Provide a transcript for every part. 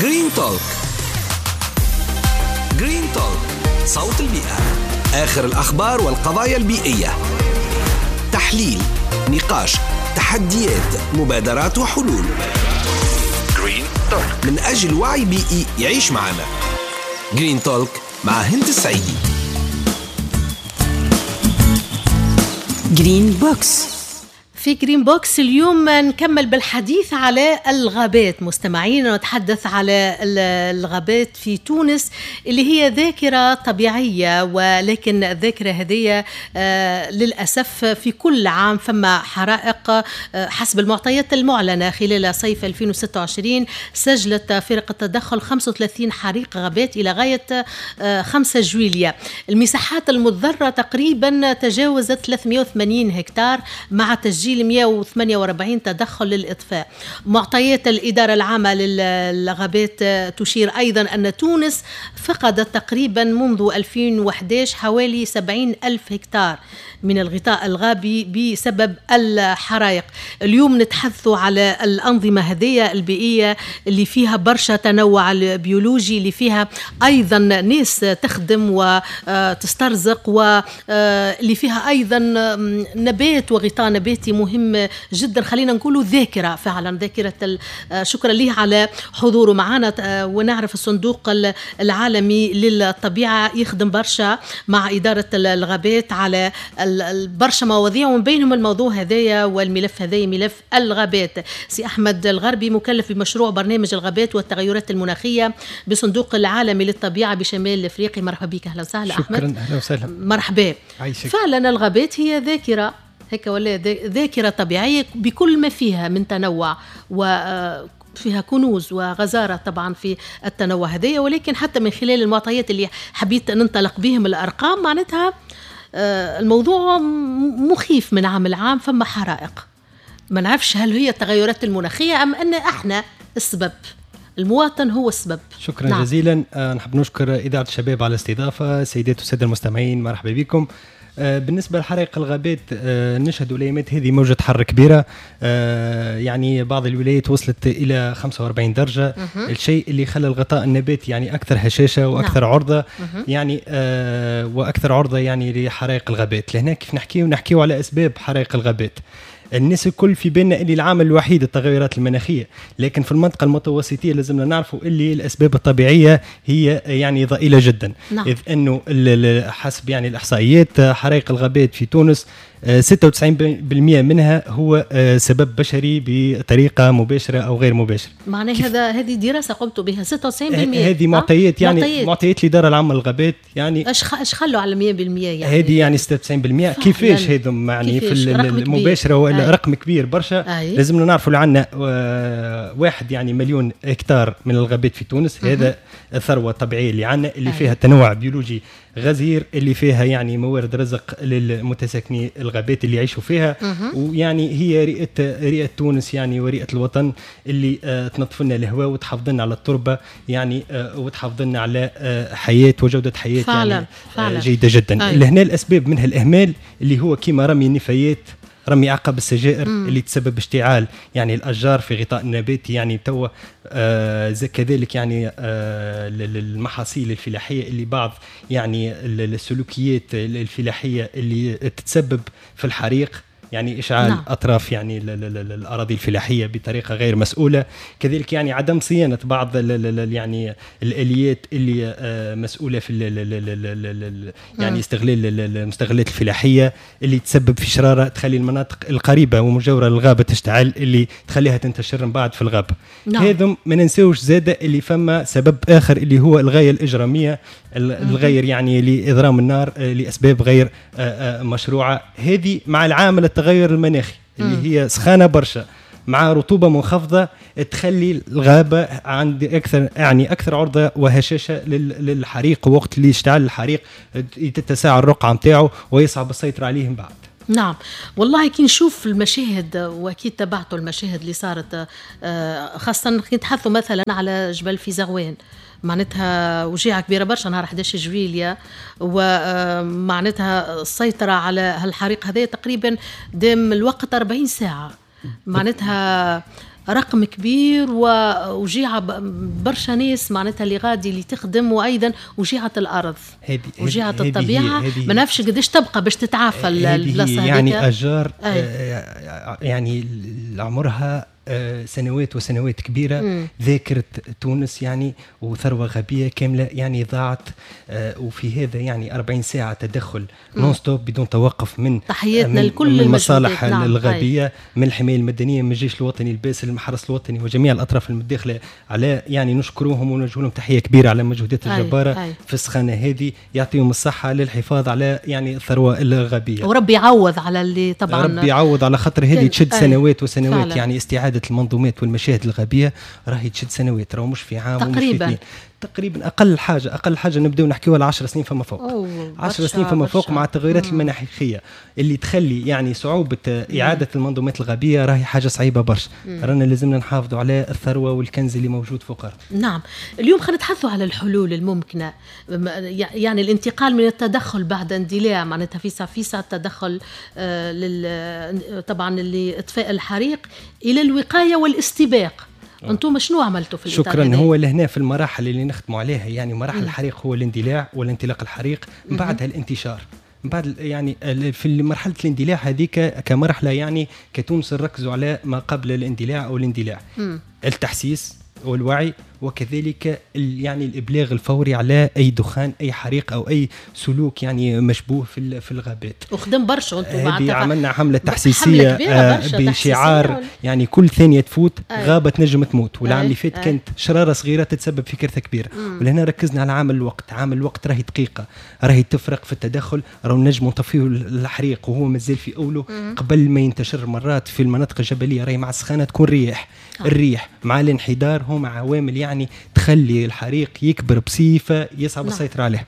Green Talk. Green Talk، صوت البيئة، آخر الأخبار والقضايا البيئية، تحليل، نقاش، تحديات، مبادرات وحلول. Green Talk من أجل وعي بيئي يعيش معنا. Green Talk مع هند السعيدي. Green Box. في Green Box اليوم نكمل بالحديث على الغابات مستمعين، ونتحدث على الغابات في تونس اللي هي ذاكرة طبيعية، ولكن الذاكرة هذه للأسف في كل عام فما حرائق. حسب المعطيات المعلنة خلال صيف 2026 سجلت فرق التدخل 35 حريق غابات إلى غاية 5 جويلية. المساحات المتضررة تقريبا تجاوزت 380 هكتار مع تسجيل 148 تدخل للإطفاء. معطيات الإدارة العامة للغابات تشير أيضا أن تونس فقدت تقريبا منذ 2011 حوالي 70 ألف هكتار من الغطاء الغابي بسبب الحرائق. اليوم نتحدث على الأنظمة هذه البيئية اللي فيها برشا تنوع البيولوجي، اللي فيها أيضا ناس تخدم وتسترزق، واللي فيها أيضا نبات وغطاء نباتي مهم جدا. خلينا نقوله ذاكرة، فعلا ذاكرة. شكرا ليه على حضوره معنا. ونعرف الصندوق العالمي للطبيعة يخدم برشا مع إدارة الغابات على برشا مواضيع، ومن بينهم الموضوع هذايا والملف هذايا ملف الغابات. سي أحمد الغربي مكلف بمشروع برنامج الغابات والتغيرات المناخية بصندوق العالمي للطبيعة بشمال أفريقيا. مرحبا بك، أهلا وسهلا أحمد. شكرا، أهلا وسهلا، مرحبا. عايشك. فعلا الغابات هي ذاكرة هيك ولا ذاكرة طبيعية بكل ما فيها من تنوع، وفيها كنوز وغزارة طبعا في التنوع هذايا. ولكن حتى من خلال المعطيات اللي حبيت ننطلق بهم الأرقام، معناتها الموضوع مخيف من عام لعام. فما حرائق، ما نعرفش هل هي التغيرات المناخية أم أن احنا السبب، المواطن هو السبب. شكرا. نعم. جزيلا. نحب نشكر إذاعة الشباب على الاستضافة. سيدات والسادة المستمعين، مرحبا بكم. بالنسبة لحرائق الغابات، نشهد الأيامات هذه موجة حر كبيرة، يعني بعض الولايات وصلت إلى 45 درجة، الشيء اللي خلى الغطاء النباتي يعني أكثر هشاشة وأكثر نعم. عرضة، يعني وأكثر عرضة يعني لحرائق الغابات. لهنا كيف نحكيو على أسباب حرائق الغابات. الناس الكل في بالنا اللي العامل الوحيد التغيرات المناخية، لكن في المنطقة المتوسطيه لازمنا نعرفوا اللي الاسباب الطبيعية هي يعني ضئيلة جدا. نعم. اذ انه حسب يعني الاحصائيات حرائق الغابات في تونس 96% منها هو سبب بشري بطريقة مباشرة او غير مباشرة. معناها هذه دراسة قمت بها 96%. هذه معطيات، يعني معطيات الادارة العامة للغابات. يعني اش خلوا على 100% يعني هذه يعني 96%. كيفاش هذم يعني في المباشرة ولا رقم كبير برشا. لازمنا نعرفوا اللي عندنا 1 يعني مليون هكتار من الغابات في تونس. هذا الثروة الطبيعية اللي عندنا، اللي فيها تنوع بيولوجي غزير، اللي فيها يعني موارد رزق للمتساكني الغابات اللي يعيشوا فيها. ويعني هي رئة تونس يعني ورئة الوطن اللي تنظف لنا الهواء وتحافظ لنا على التربة يعني وتحافظ لنا على حياة وجودة حياة فعلا يعني فعلا جيدة جدا. لهنا الأسباب منها الإهمال اللي هو كيما رمي النفايات، رمي عقب السجائر اللي تسبب اشتعال يعني الأشجار في غطاء النباتي يعني توا كذلك يعني المحاصيل الفلاحية اللي بعض يعني السلوكيات الفلاحية اللي تتسبب في الحريق، يعني إشعال نعم. أطراف يعني الأراضي الفلاحية بطريقة غير مسؤولة. كذلك يعني عدم صيانة بعض يعني الآليات اللي مسؤولة في يعني استغلال المستغلات الفلاحية اللي تسبب في شرارة تخلي المناطق القريبة ومجاورة للغابة تشتعل، اللي تخليها تنتشر من بعد في الغابة. نعم. هذم ما ننساوش زادة اللي فما سبب آخر اللي هو الغاية الإجرامية، الغير يعني لإضرام النار لأسباب غير مشروعة. هذه مع العامل التغير المناخي اللي هي سخانة برشا مع رطوبة منخفضة تخلي الغابة عند أكثر يعني أكثر عرضة وهشاشة للحريق، ووقت اللي يشتعل الحريق تتساع الرقعة متاعه ويصعب السيطرة عليه من بعد. نعم والله كي نشوف المشاهد، واكيد تبعتوا المشاهد اللي صارت، خاصة كي نتحدثوا مثلا على جبل في زغوان، معناتها وجيعة كبيرة برشا نهار 11 جويلية، ومعناتها السيطرة على هالحريق هذا تقريبا دام الوقت 40 ساعة. معناتها رقم كبير ووجيعة برشا ناس معناتها اللي غادي اللي تخدم، وأيضا وجيعة الأرض، وجيعة الطبيعة. ما نعرفش قداش تبقى باش تتعافى البلاصة هذيك. يعني أشجار يعني عمرها سنوات وسنوات كبيرة، ذاكرة تونس يعني وثروة غابية كاملة يعني ضاعت. وفي هذا يعني 40 ساعة تدخل non-stop بدون توقف من تحياتنا لكل من المصالح الغابية، من الحماية المدنية، من الجيش الوطني الباسل، المحرس الوطني، وجميع الأطراف المتداخلة على يعني نشكرهم ونوجه لهم تحية كبيرة على المجهودات الجبارة في السخانة هذه، يعطيهم الصحة للحفاظ على يعني الثروة الغابية، وربي يعوض على اللي طبعا ربي يعوض على خاطر هذه تشد سنوات وسنوات فعلا. يعني استعادة المنظومات والمشاهد الغابية راهي تشد سنوات، راهو مش في عام تقريبا ومش في تقريبا. اقل حاجة نبداو نحكيوها على 10 سنين فما فوق، 10 سنين فما فوق مع التغيرات المناخية اللي تخلي يعني صعوبة اعاده المنظومات الغابيه راهي حاجة صعيبة برشا. رانا لازمنا نحافظوا على الثروة والكنز اللي موجود فوق الارض. نعم، اليوم خلينا نتحدثوا على الحلول الممكنة، يعني الانتقال من التدخل بعد اندلاع معناتها فيسع التدخل طبعا لاطفاء الحريق الى الوقاية والاستباق. انتم شنو عملتوا في الإطار؟ شكرا. هو لهنا في المراحل اللي نختموا عليها يعني مراحل الحريق هو الاندلاع والانطلاق الحريق، من بعدها الانتشار، من بعد يعني في مرحلة الاندلاع هذيك كمرحلة يعني كتونس نركزوا على ما قبل الاندلاع او الاندلاع، التحسيس والوعي، وكذلك يعني الابلاغ الفوري على اي دخان، اي حريق، او اي سلوك يعني مشبوه في الغابات. وخدم برشا انتم معناتها عملنا حمله تحسيسيه بشعار يعني كل ثانية تفوت غابه تنجم تموت، والعام اللي فات كانت شراره صغيرة تتسبب في كارثة كبيرة. ولهنا ركزنا على عامل الوقت، عامل الوقت راهي دقيقة، راهي تفرق في التدخل، راهو نجموا نطفيو الحريق وهو مازال في اوله قبل ما ينتشر. مرات في المناطق الجبلية راهي مع السخانه تكون رياح، الريح مع الانحدار هما عوامل يعني تخلي الحريق يكبر بصفة يصعب السيطرة عليه.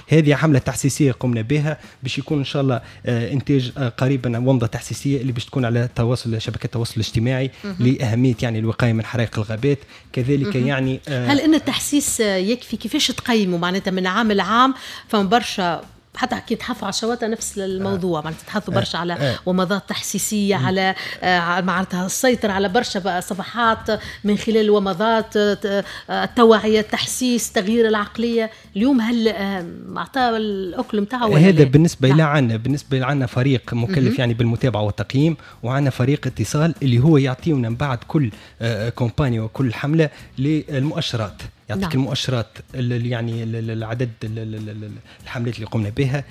هذه حمله تحسيسيه قمنا بها باش يكون ان شاء الله انتاج قريبا ومضة تحسيسيه اللي باش تكون على تواصل شبكات التواصل الاجتماعي لاهمية يعني الوقاية من حرائق الغابات كذلك. يعني هل ان التحسيس يكفي؟ كيفاش تقيموا معناتها من عام لعام؟ فما برشا حتى كي تحثوا على الشواطئ نفس الموضوع، معناتها تحثوا برشا على ومضات تحسيسيه، على معناتها السيطرة على برشا صفحات من خلال الومضات، التوعية، التحسيس، تغيير العقلية. اليوم هل اعطى الاكل نتاعو؟ هذا بالنسبة الى عنا، بالنسبة عنا فريق مكلف يعني بالمتابعة والتقييم، وعنا فريق اتصال اللي هو يعطينا من بعد كل campagne وكل حمله للمؤشرات، يعطيك المؤشرات يعني العدد الحملات اللي قمنا بها،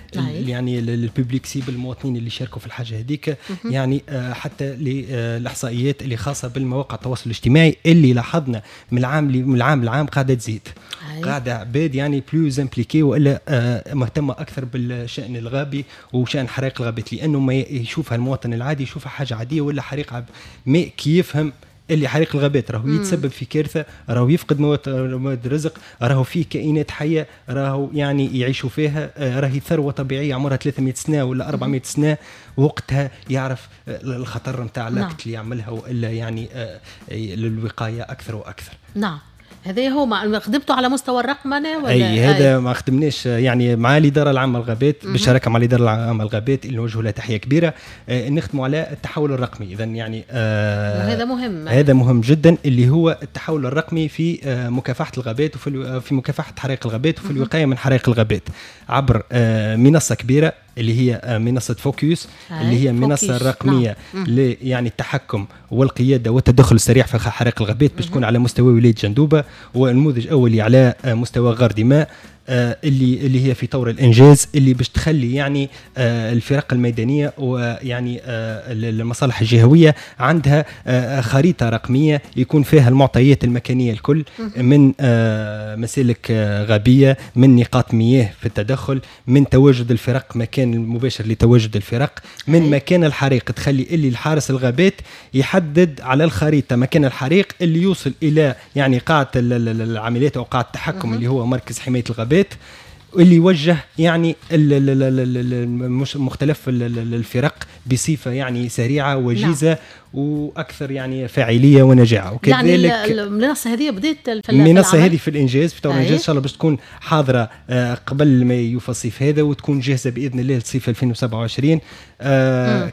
يعني ال public cible، المواطنين اللي شاركوا في الحاجة هذيك، يعني حتى للاحصائيات اللي خاصة بالمواقع التواصل الاجتماعي اللي لاحظنا من العام لعام قاعدة تزيد، قاعدة عباد يعني plus impliqués والا مهتمة اكثر بالشان الغابي وشان حرائق الغابات، لانه ما يشوفها المواطن العادي يشوفها حاجة عادية ولا حريق ما كي يفهم اللي حريق الغابات راهو يتسبب في كارثة، راهو يفقد مواد رزق، راهو فيه كائنات حيه راهو يعني يعيشوا فيها، راهي ثروة طبيعية عمرها 300 سنة ولا 400 سنة، وقتها يعرف الخطر نتاع l'acte اللي يعملها والا يعني للوقايه اكثر واكثر. نعم، هذا هو ما خدمته على مستوى الرقمنه ولا؟ اي هذا ما خدمناش يعني مع الادارة العامة للغابات، بالشراكة مع الادارة العامة للغابات اللي نوجه لها تحية كبيرة، نخدموا على التحول الرقمي. اذا يعني هذا مهم، هذا مهم جدا اللي هو التحول الرقمي في مكافحة الغابات وفي في مكافحة حرائق الغابات وفي الوقاية من حرائق الغابات عبر منصة كبيرة اللي هي منصة فوكيوس، اللي هي منصة الرقمية يعني التحكم والقيادة والتدخل السريع في حرائق الغابات، باش تكون على مستوى ولاية جندوبة ونموذج أولي على مستوى غار دماء، اللي هي في طور الانجاز، اللي باش تخلي يعني الفرق الميدانية ويعني المصالح الجهوية عندها خريطة رقمية يكون فيها المعطيات المكانية الكل، من مسالك غابيه، من نقاط مياه في التدخل، من تواجد الفرق، مكان المباشر لتواجد الفرق، من مكان الحريق، تخلي اللي الحارس الغابات يحدد على الخريطة مكان الحريق اللي يوصل الى يعني قاعة العمليات او قاعة التحكم اللي هو مركز حماية الغابات، اللي يوجه يعني مختلف الفرق بصفة يعني سريعة وجيزة. نعم. واكثر يعني فاعلية ونجاعه. وكذلك يعني المنصة هذه بدات في المنصة هذه في الانجاز، في طور الانجاز ان شاء الله باش تكون حاضره قبل ما يوفى الصيف هذا، وتكون جاهزة باذن الله لصيف 2027.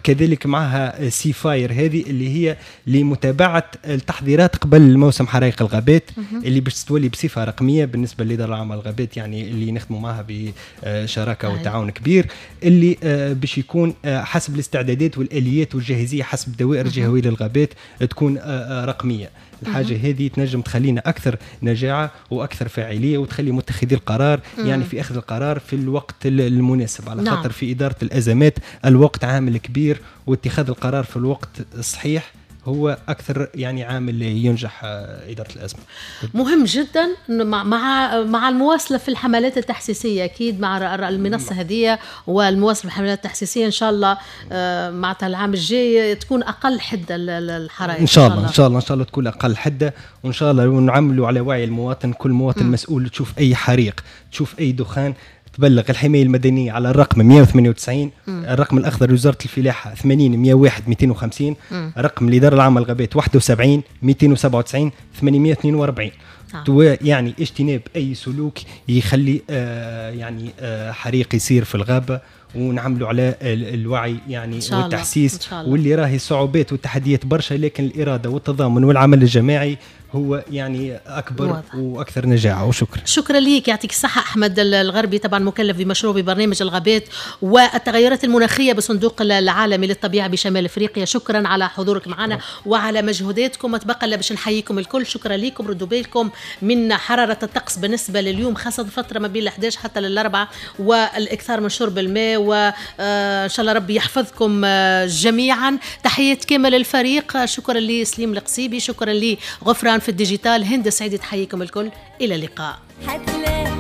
كذلك معها SeaFire هذه اللي هي لمتابعة التحضيرات قبل موسم حرائق الغابات، اللي باش تولي بصفة رقمية بالنسبة للادارة العامة للغابات، يعني اللي نخدموا معها بشراكه وتعاون كبير، اللي باش يكون حسب الاستعدادات والاليات والجاهزيه حسب الدوائر الجهوية للغابات تكون رقمية. الحاجة هذه تنجم تخلينا اكثر نجاعه واكثر فاعلية، وتخلي متخذي القرار يعني في اخذ القرار في الوقت المناسب، على خاطر في ادارة الازمات الوقت عامل كبير، واتخاذ القرار في الوقت الصحيح هو أكثر يعني عامل ينجح إدارة الأزمة. مهم جدا مع المواصلة في الحملات التحسيسية، أكيد مع المنصة هذه والمواصلة في الحملات التحسيسية إن شاء الله مع العام الجاي تكون أقل حدة الحرائق. إن شاء الله، إن شاء الله، إن شاء الله تكون أقل حدة، وإن شاء الله نعملوا على وعي المواطن. كل مواطن مسؤول، تشوف أي حريق، تشوف أي دخان، تبلغ الحماية المدنية على الرقم 198، الرقم الأخضر لوزارة الفلاحة 80 101 250، رقم الإدارة العامة للغابات 71 297 842. يعني اجتناب أي سلوك يخلي يعني حريق يصير في الغابة، ونعملوا على الوعي يعني والتحسيس، واللي راهي صعوبات والتحديات برشا، لكن الإرادة والتضامن والعمل الجماعي هو يعني أكبر واضح. وأكثر نجاعة. وشكرا. شكرا ليك، يعطيك الصحة أحمد الغربي، طبعا مكلف بمشروع ببرنامج الغابات والتغيرات المناخية بصندوق العالمي للطبيعة بشمال أفريقيا. شكرا على حضورك معنا وعلى مجهوداتكم. ما تبقى إلا باش نحييكم الكل. شكرا لكم. ردوا بالكم من حرارة الطقس بالنسبة لليوم، خاصة فترة ما بين 11 حتى للأربعة، والإكثار من شرب الماء، وإن شاء الله ربي يحفظكم جميعا. تحيات كامل الفريق، شكرا لسليم القصيبي، شكرا لغفران في ال digital، هند سعيد تحييكم الكل. إلى اللقاء.